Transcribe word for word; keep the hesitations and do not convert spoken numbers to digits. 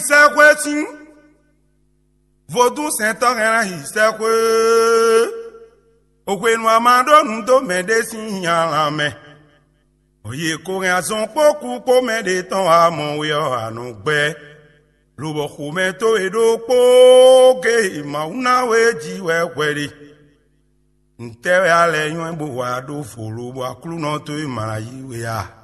sɛ́xwé sín. Vodún sɛntɔ́ hɛn ná yi sɛ́xwé. Hwenu a ma ɖó nǔ dó mɛɖé sín nya lan mɛ. Yě ko hɛn azɔn kpó kú kpó mɛ ɖé tɔn wá mɔ we ɔ́, a nɔ gbɛ́, lobɔ xomɛ towe ɖokpó géé Mawu ná we jí wɛ hwɛ ɖe. Ntɛ́ wɛ a lɛ́ nywɛ́ bó wa ɖó vo lobɔ Aklúnɔ towe ma ná yí we a?